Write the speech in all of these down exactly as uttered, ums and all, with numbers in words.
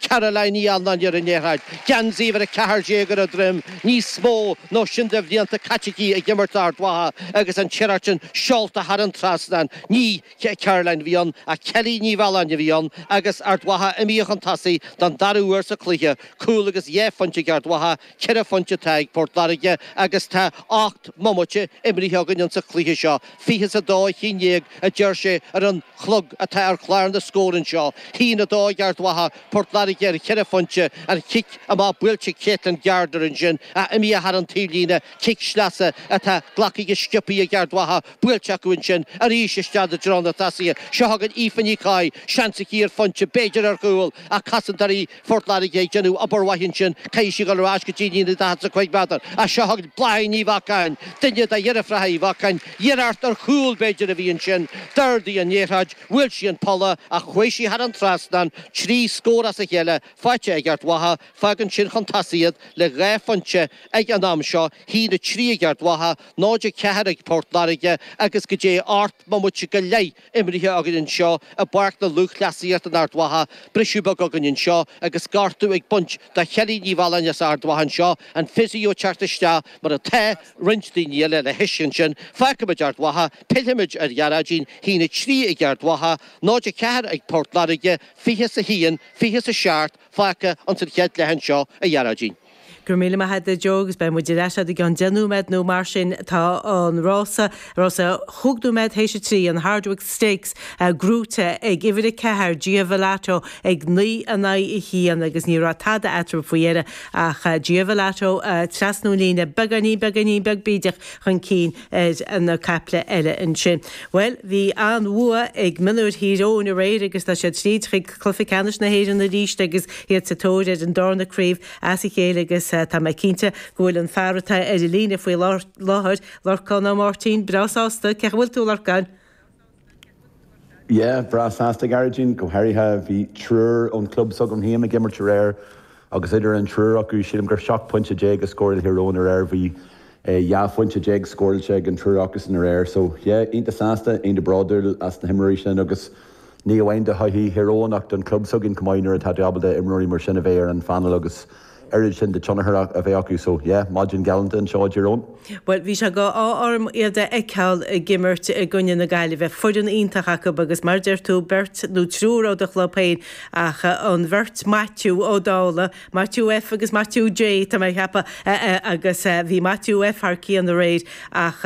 Caroline Ní Annáin ar an liathróid. Geansaí uimhir a ceathair déag ar a droim, níos mó ná sin de bhlianta caite aici ag imirt d'Ard Mhacha agus an iarracht sin seolta thar an trasnán. Ní Caroline a bhí ann ach Kelly Ní Mhealláin a bhí ann agus Ard Mhacha imithe chun tosaigh don dara huair sa chluiche. Cúl agus dhá phointe ag Ard Mhacha, ceithre phointe atá ag Port Láirge agus tá ocht mbomaite imrithe againn insa chluiche seo. Fiche is a dó a haon déag a deir sé ar an chlog atá ar chlár na scór anseo. Haon a dó ag Ard Mhacha, Port Láirge ar cheithre phointe, an chic amach buailte ag Caitlin Gardner ansin ach imithe thar an taobhlíne, cic sleasa atá glactha go sciobtha ag Ard Mhacha, buailte acu ansin arís isteach i dtreo na tosaithe. Seo chugainn Aoife Ní Chofaigh, seans aici ar phointe, b'fhéidir ar chúl, ach cosantóirí Phort Láirge ag déanamh obair mhaith ansin, caithfidh sí dul ar ais go dtí líne daichead is a cúig méadar. Ach seo chugainn Bláithín Ní Bheacháin, duine de dheirfiúracha Uí Bheacháin, iarracht ar chúl b'fhéidir a bhí ansin, d'ardaigh an liathróid, bhuail sí an polla ach chuaigh sí thar an trasnán, trí scór as a chéile faighte ag Ard Mhacha, fágann sin chun tosaigh iad le dhá phointe ag an am seo, haon a trí ag Ard Mhacha, náid a ceathair ag Port Láirge agus go dté ocht mbomaite go leith imrithe againn anseo i bPáirc na Lúthchleasaíochta in Ard Mhacha. Briseadh beag againn anseo agus gortú ag baint do Chelly Ní Mhealláin as Ard Mhacha anseo, an physio ag teacht isteach mar atá roinnt daoine eile le hais ansin. Fágfaimid Ard Mhacha, pillfimid ar Ghearóidín, haon a trí ag Ard Mhacha, náid a ceathair ag Port Láirge, fiche is a haon, fiche is a seacht fágtha ins an chéad leath anseo a Ghearóidín. Go raibh míle maith agat a Joe agus beidh muid ar ais i gceann deich nóiméad nó mar sin tá an rása rása chúig nóiméad théis a trí an Hardwicke Stakes gnóthaithe ag uimhir a ceathair Gia Velato ag naoi in aghaidh a haon agus ní raibh tada eatarthu faoi dheireadh ach Gia Velato trasna an líne beagáinín beagáinín beag bídeach chun cinn ar na caiple eile ansin. Well bhí an-bhua ag mionúir Thír Eoghain aréir agus tá siad tríd chuig cluiche ceannais na hÉireann arís agus iad sa tóir ar an darna craobh as a chéile agus tá mé cinnte go bhfuil an fear atá ar an líne faoi láthair Lorcán Ó Máirtín breá sásta cén chaoi a bhfuil tú Lorcán. Yeah, breá sásta Gearóidín go háirithe bhí triúr ón club s'agam féin ag imirt aréir agus idir an triúr acu sílim gur seacht bpointe déag a scóráil Thír Eoghain aréir bhí dhá phointe déag scóráilte ag an triúr acusan aréir, so yeah, iontach sásta, iontach bródúil as na himreoirí sin agus ní amháin do thodhchaí Thír Eoghain ach don club s'againn chomh maith nuair atá tú ábalta imreoirí mar sin a bheith ar an phainéal agus oiread sin de tionchar a bheith acu so yeah, maidin ghalánta anseo i dTír Eoghain. Well bhí sé go orm iad a fheiceáil ag imirt i gcoinne na Gaillimhe foireann iontach acu agus mar deir tú beirt nó triúr ó do chlub féin ach an bheirt Maitiú Ó Dála, Maitiú F agus Maitiú J tá mé ag ceapadh agus bhí Maitiú F thar cionn aréir ach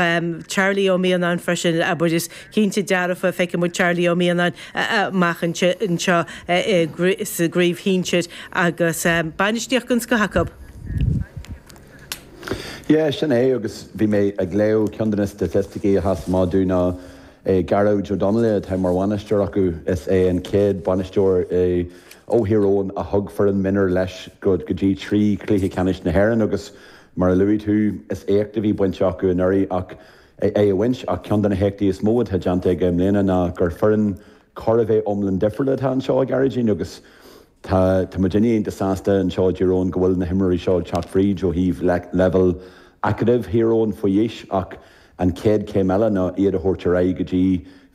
Charlie Ó Mianáin freisin abair is cinnte dearfa feicfidh muid Charlie Ó Mianáin amach anseo sa gcraobh shinsir agus bainistíocht den scoth acu. Yeah, sin é agus bhí mé ag léamh ceann de na staitisticí a sheas amach domh ná Gearóid O'Donnell atá mar bhainisteoir acu is é an chéad bhainisteoir ó Thír Eoghain a thug foireann mionúr leis go go dtí trí chluiche ceannais na hÉireann agus mar a luaigh tú is éacht a bhí bainte acu anuraidh ach é a bhaint ach ceann de na héachtaí is mó atá déanta aige i mbliana ná gur foireann chóir a bheith iomlán difriúil atá anseo ag Gearóidín agus Tá tá muid iontach sásta anseo i dTír Eoghain go bhfuil na himreoirí seo ag teacht fríd ó thaobh leibhéal acadamh Thír Eoghain faoi aois ach an chéad chéim eile ná iad a thabhairt ar aghaidh go dtí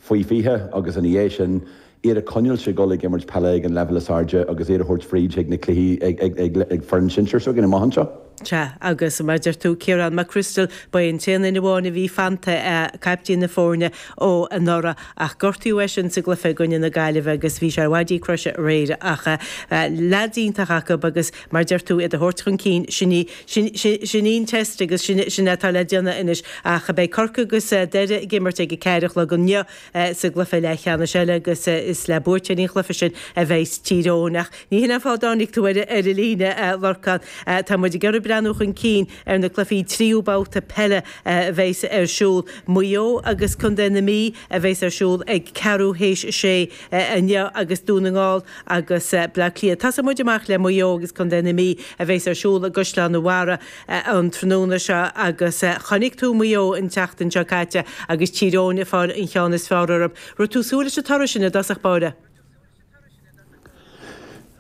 faoi fiche agus ina dhiaidh sin iad a choinneáil ag dul ag imirt peile ag an leibhéal is airde agus iad a thabhairt fríd ag na cluichí ag ag ag ag foireann sinsir s'againn amach anseo. Sea, agus mar deir tú Ciarán McChrystal, ba é an t-aon duine amháin a bhí fanta caiptín na foirne ó anuraidh ach gortaíodh eisean sa gcluiche i gcoinne na Gaillimhe agus bhí sé ar mhaidí croise aréir ach leaids iontach acu agus mar deir tú iad a thabhairt chun cinn sin í sin sin í an test agus sin sin atá le déanamh anois ach beidh Corcaigh agus Doire ag imirt ag a ceathair a chlog inniu sa gcluiche leathcheannais eile agus is le buaiteoirí an chluiche sin a bheidh Tír Eoghain ach ní hin an fáth a dtáinig tú ar ar an líne Lorcán tá muid ag iarraidh breathnú chun cinn ar na cluichí tríú babhta peile a bheas ar siúl. Maigh Eo agus Contae na Mí a bheas ar siúl ag ceathrú théis a sé inniu agus Dún na nGall agus Bleá Cliath. Tosóidh muid amach le Maigh Eo agus Contae na Mí a bheas ar siúl i gCaisleán an Bharraigh an tráthnóna seo agus chonaic tú Maigh Eo an tseachtain seo caite agus Tír Eoghain ag fáil an cheann is fearr orthu. Raibh tú ag súil leis an toradh sin i dtosach báire?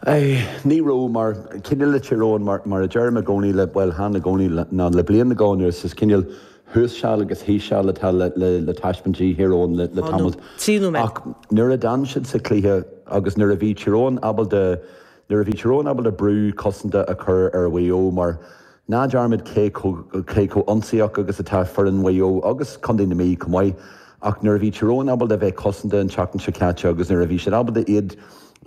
Ní raibh mar cineál le Tír Eoghain mar mar a deirim i gcónaí le bhuel chan i gcónaí ná le bliain go anuas is cineál thuas seal agus thíos seal atá le le le taispeáint i Thír Eoghain le le Tá nó tamall. trí nóiméad. Ach nuair a d'fhan siad sa chluiche agus nuair a bhí Tír Eoghain ábalta Nuair a bhí Tír Eoghain ábalta brú cosanta a chur ar Mhaigh Eo, mar ná dearmad cé cé chomh ionsaíoch agus atá foireann Mhaigh Eo agus Contae na Mí chomh maith, ach nuair a bhí Tír Eoghain ábalta bheith cosanta an tseachtain seo caite agus nuair a bhí siad ábalta iad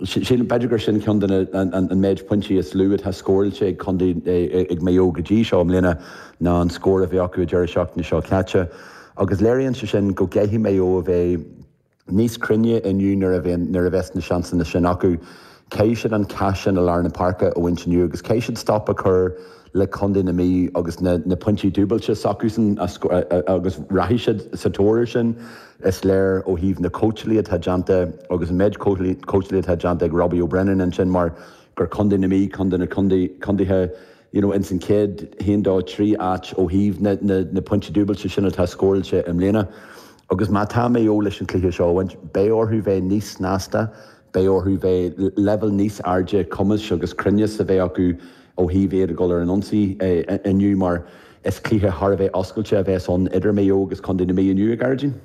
sin, b'fhéidir gur sin ceann de an méid pointí is lú atá scóráilte ag Contae ag Maigh Eo go dtí seo i mbliana ná an scór a bhí acu deireadh seachtaine seo caite. Agus léiríonn sé sin go gcaithfidh Maigh Eo a bheith níos cruinne inniu nuair a bheith nuair a bheas na seansanna sin acu. Caithfidh siad an cath sin i lár na páirce a bhaint inniu agus caithfidh siad stop a chur le Contae na Mí agus na, na pointí dúbailte s'acusan agus rachaidh siad sa tóir sin. Is léir ó thaobh na cóitseálaí atá déanta agus an méid cóitseálaí atá déanta ag Robbie O'Brennan ansin mar gur Contae na Mí ceann de na contaetha you know, ins an chéad haon dó trí áit ó thaobh na, na, na pointí dúbailte sin atá scóráilte i mbliana. Agus má tá Maigh Eo leis an cluiche seo a bhaint, beidh orthu bheith níos snasta, beidh orthu bheith leibhéal níos airde cumais agus cruinneas a bheith acu ó thaobh iad ag dul ar an ionsaí inniu mar is cluiche thar a bheith oscailte a bheas ann idir Maigh Eo agus Contae na Mí inniu, a Ghearóidín.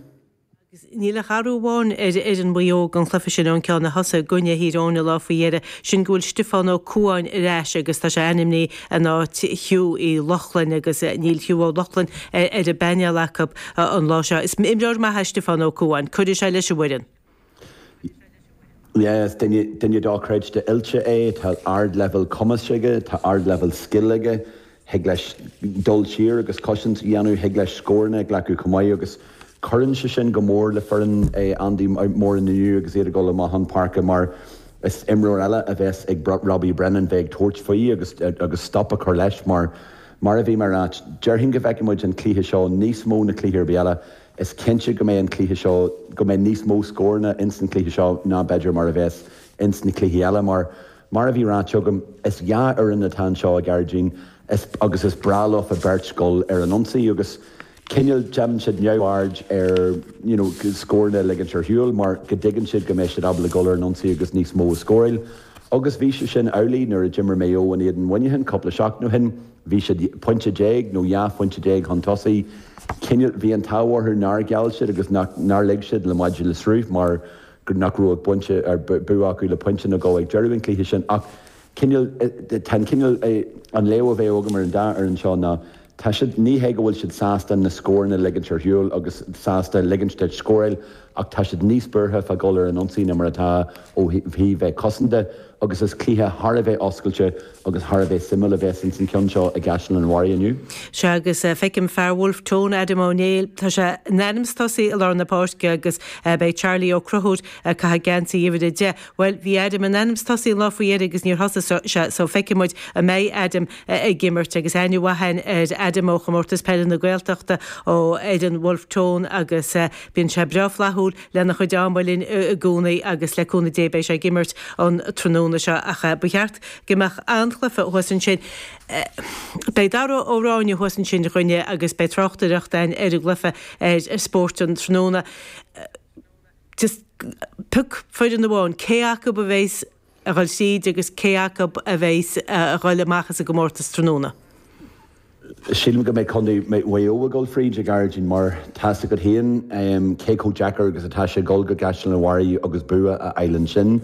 Agus níl ach athrú amháin ar fhoireann Mhaigh Eo don chluiche sin ón ceann a thosaigh i gcoinne Thír Eoghain an lá faoi dheireadh, sin go bhfuil Stiofán Ó Cualáin ar ais agus tá sé ainmnithe in áit Hugh Uí Lochlainn agus níl Hugh Ó Lochlainn ar an bpainéal acu an lá seo. Is imreoir maith é Stiofán Ó Cualáin, cuirfidh sé leis an bhfoireann. Yeah, is duine duine dochreidte oilte é, tá ardleibhéal cumais aige, tá ardleibhéal scil aige, thig leis dul siar agus cosaint a dhéanamh, thig leis scóranna a ghlacadh chomh maith agus cuireann sé sin go mór le foireann Andy Moran inniu agus iad ag dul amach chun páirce mar is imreoir eile a bheas ag Robbie Brennan bheith ag tabhairt faoi agus agus stop a chur leis mar mar a bhí mé ag ráit, déarfainn go bhfeicfidh muid an cluiche seo níos mó na cluichí ar bith eile. Is cinnte go mbeidh an cluiche seo, go mbeidh níos mó scóranna ins an cluiche seo ná b'fhéidir mar a bheas ins na cluichí eile mar, mar a bhí ráite agam, is dhá fhoireann atá anseo, a Ghearóidín, is, agus is breá leofa beirt dul ar an ionsaí agus cineál déanann siad neamhaird ar you know, scóranna a ligint ar shiúl mar go dtuigeann siad go mbeidh siad ábalta dul ar an ionsaí agus níos mó a scóráil. Agus bhí sé sin amhlaidh nuair a d'imir Maigh Eo in éadan Mhuineacháin cúpla seachtain ó shin, bhí siad pointe déag nó dhá phointe déag chun tosaigh. Cineál, bhí an t-ádh orthu nár gheall siad agus nár lig siad le maide le sruth mar nach raibh ach pointe ar bua acu le pointe nó dhó ag deireadh an chluiche sin. Ach cineál, tá an cineál, an léamh a bheadh agam ar an dá fhoireann seo ná Tá siad, ní hé go bhfuil siad sásta na scóranna a ligint ar shiúl agus sásta ligint duit scóráil ach tá siad níos buartha fá dhul ar an ionsaí ná mar atá ó thaobh bheith cosanta agus is cluiche thar a bheith oscailte agus thar a bheith suimiúil a bheas ins an ceann seo i gCaisleán an Bharraigh inniu. Sea agus feicim fear Wolfe Tone, Adam Ó Néill, tá sé in ainm is tosaí i lár na páirce agus beidh Charlie Ó Conchúir ag caitheamh geansaí uimhir a deich. Bhuel, bhí Adam in ainm is tosaí an lá faoi dheireadh agus níor thosaigh sé so feicfidh muid an mbeidh Adam ag imirt agus aithne mhaith againn ar Adam ó Chomórtas Peile na Gaeltachta ó fhoireann Wolfe Tone agus bíonn sé breá flaithiúil lena chuid ama linn i gcónaí agus le cúnamh Dé beidh sé ag imirt an tráthnóna seo ach ba cheart go mbeadh an-chluiche thuas ansin. Beidh Dara Ó Ráinne thuas ansin a dhuine agus beidh tráchtaireacht againn ar an gcluiche ar Spórt an tráthnóna. Just pioc foireann amháin, cé acu a bheas a dhul tríd agus cé acu a bheas a dhul amach as an gcomórtas tráthnóna? Sílim go mbeidh Contae Mhaigh Eo ag dul fríd, a Ghearóidín, mar tá's agat féin cé chomh deacair agus atá sé dul go gCaisleán an Bharraigh agus bua a fháil ansin.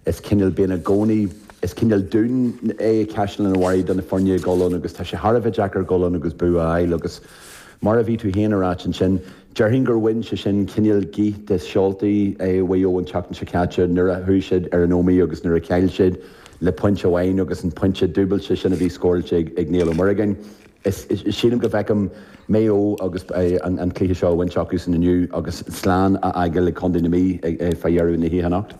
Is cineál, bíonn i gcónaí, is cineál dún é Caisleán an Bharraigh do na foirne ag dul ann agus tá sé thar a bheith deacair dul ann agus bua a fháil agus mar a bhí tú féin a ráit ansin, déarfainn gur bhain sé sin cineál gaoth de sheoltaí Mhaigh Eo an tseachtain seo caite nuair a chuaigh siad ar an Ómaigh agus nuair a chaill siad le pointe amháin agus an pointe dúbailte sin a bhí scóráilte ag Niall Ó Muireagáin. Is sílim go bhfeicim Maigh Eo agus an cluiche seo a bhaint acusan inniu agus slán a fhágáil ag Contae na Mí fá dheireadh na hoíche anocht.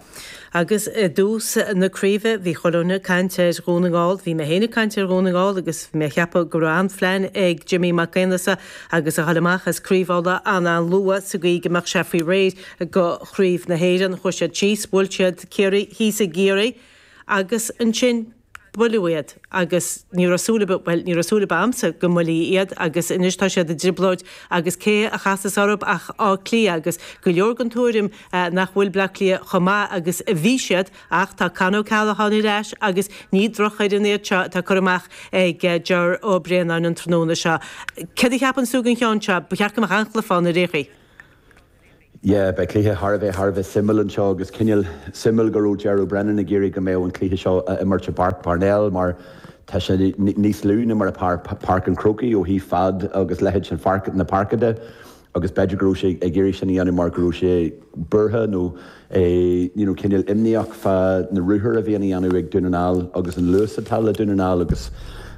Agus i dtús na craoibhe bhí chuile dhuine ag caint ar Dhún na nGall, bhí mé féin ag caint ar Dhún na nGall agus bhí mé ag ceapadh go raibh an-phlean ag Jimmy Mac Aonghusa agus a dhul amach as Craobh Uladh an-an-luath sa gcaoi go mbeadh sé faoi réir go Chraobh na hÉireann. Chuaigh siad síos, bhuail siad Ciarraí thíos i gCiarraí agus ansin buaileadh iad agus ní raibh súil ar bith, bhuel, ní raibh súil ar bith a'msa go mbuailfí iad agus anois tá siad i dtrioblóid agus cé a chasas orthu ach Áth Cliath agus go leor den tuairim nach bhfuil Bleá Cliath chomh maith agus a bhí siad ach tá Con O'Callaghan ar ais agus ní drochfhoireann iad seo atá curtha amach ag Ger Ó Braonáin an tráthnóna seo. Céard a cheapann tú den cheann seo? Ba cheart go mbeadh an-chluiche ann ar aon chaoi. Yeah, beidh cluiche thar a bheith thar a bheith suimiúil anseo agus cineál suimiúil go raibh Ger Brennan ag iarraidh go mbeadh an cluiche seo a imirt i bPáirc Parnell mar tá sé níos lú ná mar Páirc an Chrócaigh ó thaobh fad agus leithead sin pháirc na páirce de agus b'fhéidir go raibh sé ag iarraidh sin a dhéanamh mar go raibh sé buartha nó you know, cineál imníoch fá na ruathair a bhíonn á dhéanamh ag Dún na nGall agus an luas atá le Dún na nGall agus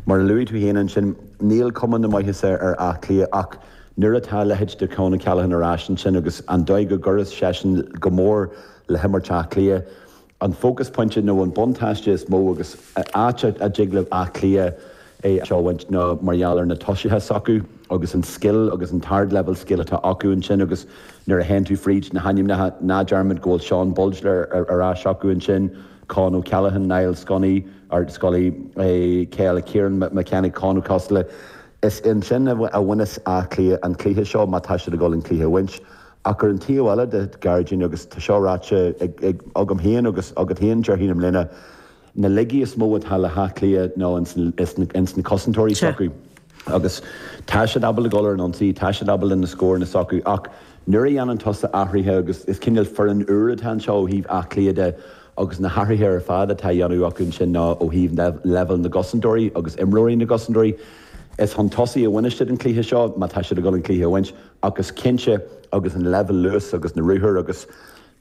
mar a luaigh tú féin ansin níl cuma na maitheasa ar Áth Cliath ach nuair atá a leithéid de Con O'Callaghan ar ais ansin agus an dóigh go gcuireann seisean go mór le himirt Átha Cliath, an focus pointe nó an buntáiste is mó agus áit a dtig le Áth Cliath é seo a bhaint ná mar gheall ar na tosaithe s'acu agus an scil agus an t-ardleibhéal scil atá acu ansin agus nuair a théann tú fríd na hainmneacha ná dearmad go bhfuil Sean Bolger ar ais acu ansin, Con O'Callaghan, Niall Scully, ar Scully, Kieran McKenna, Con O'Casla. Is ansin a bhaineas Áth Cliath an cluiche seo má tá siad ag dul an cluiche a bhaint. Ach ar an taobh eile de Gearóidín agus tá seo ráite agam féin agus agat féin déarfainn i mbliana, na laigí is mó atá le hÁth Cliath ná ins na cosantóirí s'acu. Agus tá siad ábalta dul ar an ionsaí, tá siad ábalta na scóranna s'acu ach nuair a dhéanann tusa athruithe agus is cineál foireann úr atá anseo ó thaobh Áth Cliath de agus na hathruithe ar fad atá á dhéanamh acu ansin ná ó thaobh leibhéal na gcosantóirí agus imreoirí na gcosantóirí. Is chun tosaigh a bhaineas siad an cluiche seo má tá siad ag dul an cluiche a bhaint ach is cinnte agus an leibhéal luas agus na ruathair agus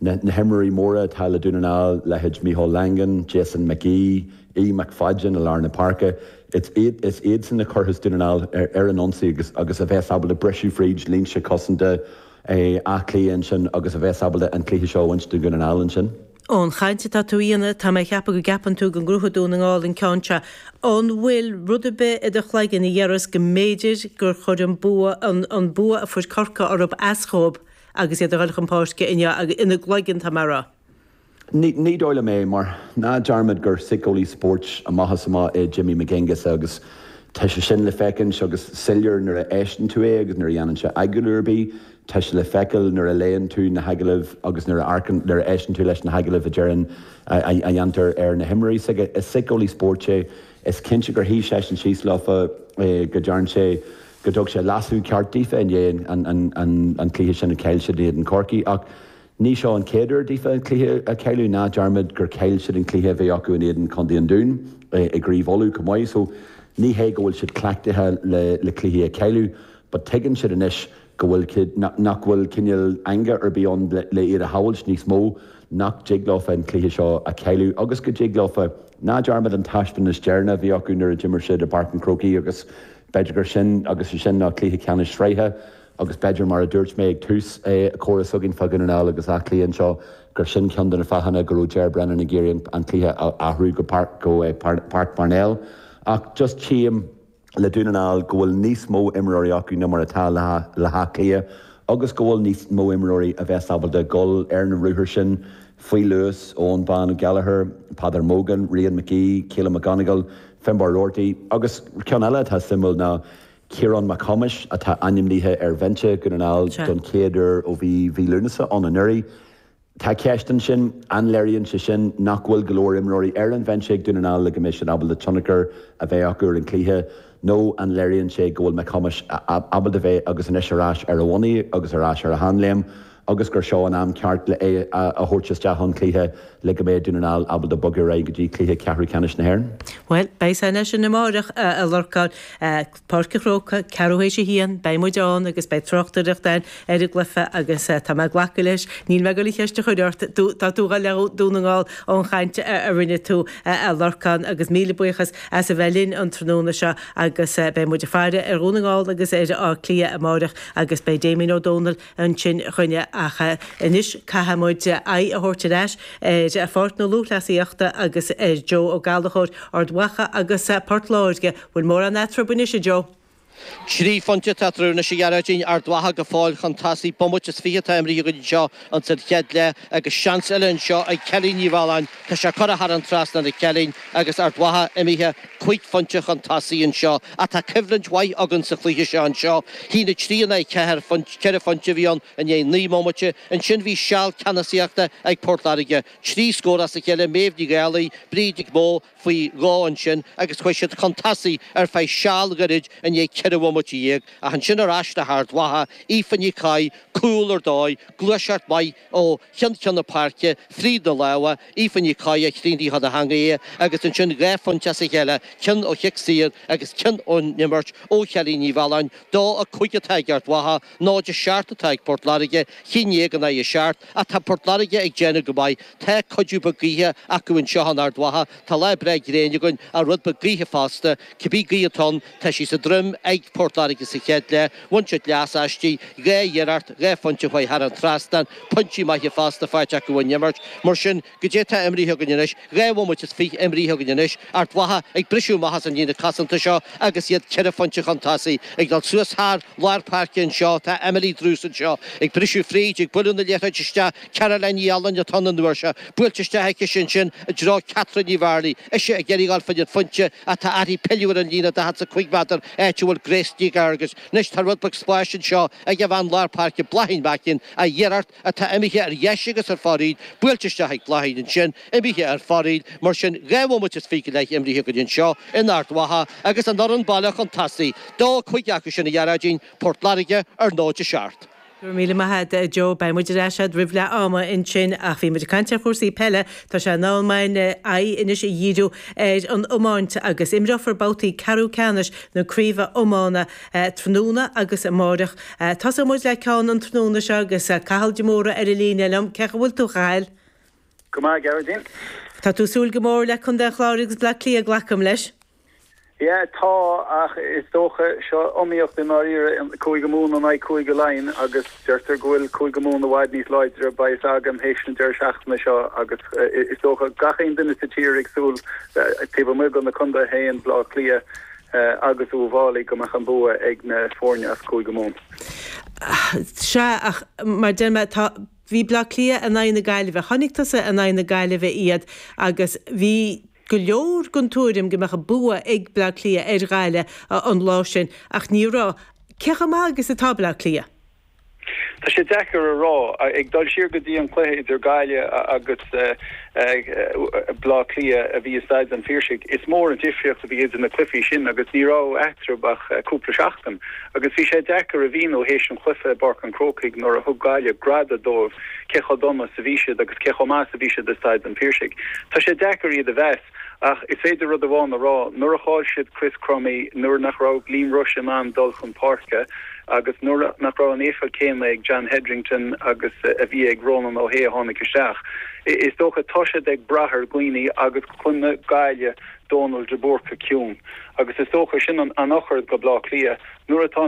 na himreoirí móra atá le Dún na nGall, leithéid Micheál Langan, Jason McGee, Aodh McFadden i lár na páirce, is iadsan a chuirfeas Dún na nGall ar an ionsaí agus agus a bheas ábalta briseadh fríd línte cosanta Átha Cliath ansin agus a bheas ábalta an cluiche seo a bhaint do Dhún na nGall ansin. Ón chaint atá tú a dhéanamh, tá mé ag ceapadh go gceapann tú go ngnóthóidh Dún na nGall an ceann seo. An bhfuil rud ar bith i do chloigeann a déarfas go mb'fhéidir gur chuir an bua an bua a fuair Corcaigh orthu as dhóibh agus iad a dhul chun páirce inniu ina gcloigeann, tá mé a rá? Ní ní dóigh liom é mar ná dearmad gur síceolaí spóirt amach is amach é Jimmy McAngus agus tá sé sin le feicint agus soiléir nuair a éisteann tú é agus nuair a dhéanann sé agallamh ar bith, tá sé le feiceáil nuair a léann tú na hagallaimh agus nuair a amharcann, nuair a éisteann tú leis na hagallaimh a deireann, a dhéantar ar na himreoirí s'aige. Is síceolaí spóirt é. Is cinnte gur shuigh seisean síos leofa go dtearn sé, go dtug sé leasú ceart daofa i ndiaidh an cluiche sin a chaill siad in éadan Chorcaí ach ní seo an chéad uair daofa an cluiche a chailleadh, ná dearmad gur chaill siad an cluiche a bhí acu in éadan Chontae an Dúin i gCraobh Uladh chomh maith so ní hé go bhfuil siad cleachtaithe le le cluichí a chailleadh but tuigeann siad anois go bhfuil nach bhfuil cineál eangaí ar bith ann le iad a shábhailt níos mó, nach dtig leofa an cluiche seo a chailleadh agus go dtig leofa, ná dearmad an taispeántas deireanach a bhí acu nuair a d'imir siad i bPáirc an Chrócaigh agus b'fhéidir gur sin agus sin ná cluiche ceannais sraithe agus b'fhéidir mar a dúirt mé ag tús comhrá s'againn fá Dhún na nGall agus Áth Cliath anseo gur sin ceann de na fáthanna go raibh Ger Brennan ag iarraidh an cluiche a athrú go Páirc Parnell ach just tchím le Dún na nGall go bhfuil níos mó imreoirí acu ná mar atá le hÁth Cliath agus go bhfuil níos mó imreoirí a bheas ábalta dul ar na ruathair sin faoi luas, Eoghan Bán Ó Gallchóir, Peadar Mogan, Rian McGee, Caolan McGonagle, Finbarr Roarty agus ceann eile atá suimiúil ná Ciarán Mac Thomáis atá ainmnithe ar bhinse Dhún na nGall don chéad uair ó bhí mhí Lúnasa ann anuraidh. Tá ceist ansin, an léiríonn sé sin nach bhfuil go leor imreoirí ar an bhinse ag Dún na nGall le go mbeidh siad ábalta tionchar a bheith acu ar an chluiche nó an léiríonn sé go bhfuil Mac Thomáis ábalta bheith agus anois ar ais ar a bhonnaí agus ar ais ar a sheanléim agus gur seo an am ceart le é a thabhairt isteach chun cluiche le go mbeidh Dún na nGall ábalta bogadh ar aghaidh go dtí cluiche ceathrú ceannais na hÉireann? Bhuel, beidh sé anois in amárach, a Lorcáin. Páirc an Chrócaigh, ceathrú théis a haon, beidh muid ann agus beidh tráchtaireacht ann ar an gcluiche agus tá mé ag glacadh leis, níl mé ag dul an cheist a chur ort, tá tú ag dul le Dún na nGall ón chaint a rinne tú, a Lorcáin, agus míle buíochas as a bheith linn an tráthnóna seo agus beidh muid ag faire ar Dhún na nGall agus ar Áth Cliath amárach agus beidh Damien Ó Dónaill ansin chugainne ach anois caithfidh muid aghaidh a thabhairt ar ais ar Pháirc na Lúthchleasaíochta agus ar Joe Ó Gallchóir, Ard Mhacha agus Port Láirge. Bhfuil mórán eatarthu anois, a Joe? Trí phointe atá eatarthu anois a Ghearóidín, Ard Mhacha go fóill chun tosaigh, bomaite is fiche atá imrithe go dtí seo ins an chéad leath agus seans eile anseo ag Kelly Ní Mhealláin. Tá sé curtha thar an trasnán ag Kelly agus Ard Mhacha imithe cúig phointe chun tosaigh anseo. Ach tá coimhlint mhaith againn sa chluiche seo anseo. Haon a trí in aghaidh ceathair, ceithre phointe a bhí ann i ndiaidh naoi mbomaite. Ansin bhí seal ceannasaíochta ag Port Láirge. Trí scór as a chéile, Méabh Ní Dhálaigh, Bríd Nic Mó faoi dhó ansin agus chuaigh siad chun tosaigh ar feadh seal gairid i ndiaidh ceithre ceithre bhomaite dhéag, ach ansin ar ais le hArd Mhacha, Aoife Ní Chofaigh, cúl ar dóigh, gluaiseacht mhaith ó cheann ceann na páirce, fríd na lámha, Aoife Ní Chofaigh a chríochnaigh chun a theanga é, agus ansin dhá phointe as a chéile, ceann ó chic saor agus ceann ón imirt ó Chelly Ní Mhealláin, dó a cúig atá ag Ard Mhacha, náid a seacht atá ag Port Láirge, haon déag in aghaidh a seacht, ach tá Port Láirge ag déanamh go maith, tá cuidiú beag gaoithe acu anseo in Ard Mhacha, tá lá breá gréine againn ach rud beag gaoithe fosta, cibé gaoth atá ann, tá sí sa droim ag Port Láirge sa chéad leath, bhain siad leas aisti, dhá iarracht, dhá phointe a chuaigh thar an trasnán, pointí maithe fosta faighte acu ón imirt. Mar sin, goidé atá imrithe againn anois, dhá bhomaite is fiche imrithe againn anois, Ard Mhacha ag briseadh amach as an líne cosanta seo agus iad ceithre phointe chun tosaigh, ag dul suas thar lár páirce anseo, tá Emily Druce anseo ag briseadh fríd, ag bualadh na liathróide isteach, Caroline Ní Fhaoláin atá ann an uair seo, buailte isteach aici sin sin i dtreo Catherine Ní Bhearlaigh, ise ag iarraidh dul fá choinne an phointe ach tá uirthi pilleadh ar an líne daichead is a cúig méadar, áit a bhfuil Grace Ní Fhearghais. Anois tá rud beag spáis anseo ag an bhean lár páirce Bláithín Macken, ach iarracht atá imithe ar dheis agus ar fóraoil, buailte isteach ag Bláithín ansin, imithe ar fóraoil, mar sin dhá bhomaite is fiche go leith imrithe againn anseo in Ard Mhacha agus an fhoireann baile chun tosaigh, dó a cúig acu sin a Ghearóidín, Port Láirge ar náid a seacht. Go raibh míle maith agat Joe, beidh muid ar ais agat roimh leath ama ansin ach bhí muid ag caint ar chúrsaí peile, tá sé in am againn aghaidh anois a dhíriú ar an iomáint agus imreofar babhtaí ceathrú ceannais na craoibhe iomána tráthnóna agus amárach. Tosóidh muid le ceann an tráthnóna seo agus Cathal de Mórdha ar an líne liom, cén chaoi a bhfuil tú a Chathail? Go maith, Gearóidín. Tá tú ag súil go mór le Contae an Chláir agus Bleá Cliath glacaim leis. Yeah, tá ach is dócha seo iomaíocht i ndáiríre Cúige Mumhan in aghaidh Cúige Laighean agus deirtear go bhfuil Cúige Mumhan i bhfad níos láidre beidh a fhios agam théis an deireadh seachtaine seo agus is dócha gach aon duine sa tír ag súil taobh amuigh de na contaetha féin Bleá Cliath agus Uíbh Fhailí go mbeadh an bua ag na foirne as Cúige Mumhan. Sea ach mar deir mé tá bhí Bleá Cliath in aghaidh na Gaillimhe, chonaic tusa in aghaidh na Gaillimhe iad agus bhí go leor den tuairim go mbeadh bua ag Bleá Cliath ar Ghaillimh an lá sin ach ní raibh. Cé chomh maith agus atá Bleá Cliath? Tá sé deacair a rá ag dul siar go dtí an cluiche idir Gaillimh agus Bleá Cliath a bhí i Staid an Phiarsaigh. Is mór an difríocht a bhí idir na cluichí sin agus ní raibh eatarthu ach cúpla seachtain. Agus bhí sé deacair a mhíniú théis an chluiche i bPáirc an Chrócaigh nuair a thug Gaillimh greadadh dóibh cé chomh dona is a bhí siad agus cé chomh maith is a bhí siad i Staid an Phiarsaigh. Tá sé deacair iad a mheas ach is féidir rud amháin a rá, nuair a chaill siad Chris Crummey, nuair nach raibh Liam Rushe in ann dul chun páirce agus nuair nach raibh an éifeacht céanna ag John Hetherington agus a bhí ag Ronan O'Hea a tháinig isteach. Is dócha tá siad ag brath ar dhaoine agus choinnigh Gaillimh Dónal de Búrca ciúin. Agus is dócha sin an an eochair do Bleá Cliath nuair atá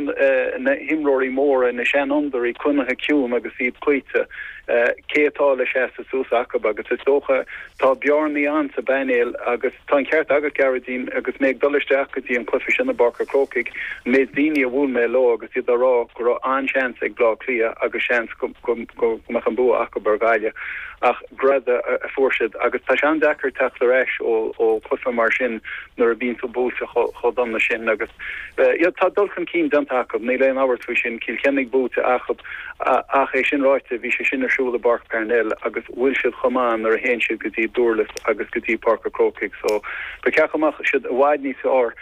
na himreoirí móra na seanfhondúirí coinnithe ciúin agus iad cloíte cé atá le seasamh suas acu agus is dócha tá bearnaí ann sa bpainéal agus tá an ceart agat Gearóidín agus mé ag dul isteach go dtí an cluiche sin i bPáirc an Chrócaigh méid daoine a bhuail mé leo agus iad á rá go raibh an-seans ag Bleá Cliath agus seans go go mbeadh an bua acu ar Ghaillimh ach greadadh a fuair siad agus tá sé an-deacair teacht ar ais ó ó chluiche mar sin nuair a bhíonn tú buailte chomh dona sin agus tá dul chun cinn déanta acu níl aon amhras faoi sin Cill Chainnigh buaite acu ach é sin ráite bhí sé sin ar siúl i bPáirc Parnell agus bhfuil siad chomh maith nuair a théann siad go dtí Durlas agus go dtí Páirc an Chrócaigh so ba cheart go mbeadh siad i bhfad níos fearr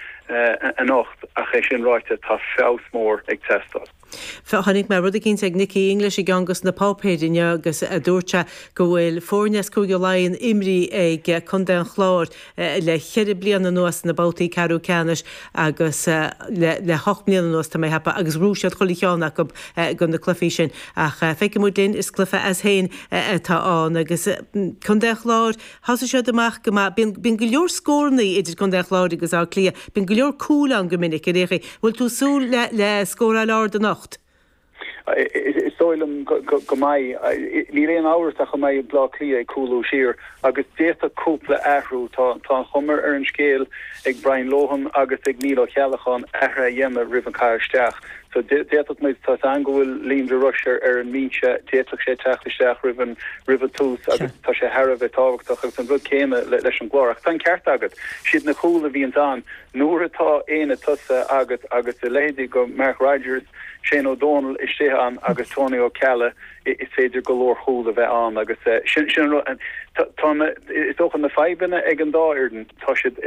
anocht ach é sin ráite tá feabhas mór ag teastáil. Chonaic mé rud eicínt ag Nicky English i gceann de na páipéir inniu agus a dúirt sé go bhfuil foirne as Cúige Laighean imrithe ag Contae an Chláir le ceithre bliana anuas na babhtaí ceathrú ceannais agus le le hocht mbliana anuas tá mé ag ceapadh agus bhuaigh siad chuile cheann acu de na cluichí sin ach feicfidh muid linn is cluiche as féin atá ann agus Contae an Chláir thosaigh siad amach go maith bíonn go leor scóranna idir Contae an Chláir agus Áth Cliath bíonn go leor cúl ann go minic ar aon chaoi bhfuil tú ag súil le le scóráil ard anocht. Is dóigh liom go mbeidh níl aon amhras ach go mbeidh Bleá Cliath ag cúlú siar agus d'fhéadfadh cúpla athrú tá tá an chuma ar an scéal ag Brian Lohan agus ag Neil Ó Ceallacháin athruithe a dhéanamh roimh an caitheamh isteach. So d'fhéadfadh muid tá an go bhfuil Liam de Rush ar ar an mbinse d'fhéadfadh sé teacht isteach roimh an roimh an tús agus tá sé thar a bheith tábhachtach agus an rud céanna leis an gClár. Ach tá an ceart agat siad na cúil a bhíonn ann nuair atá aonad tosaithe agat agus a leithéidí de Mark Rodgers, Shane O'Donnell istigh ann agus Tony Ó Ceallaigh is féidir go leor cúl a bheith ann agus sin sin Tá is dócha na fadhbanna ag an dá fhoireann tá siad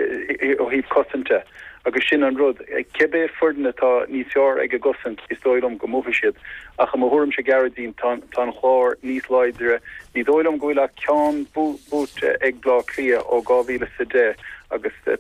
ó thaobh cosanta agus sin an rud cibé foireann atá níos fearr ag a gcosaint is dóigh liom go mbuafaidh siad ach i mo thuairimse Gearóidín tá an Clár níos láidre ní dóigh liom go bhfuil ach ceann buaite ag Bleá Cliath ó dhá mhíle sa deich agus tá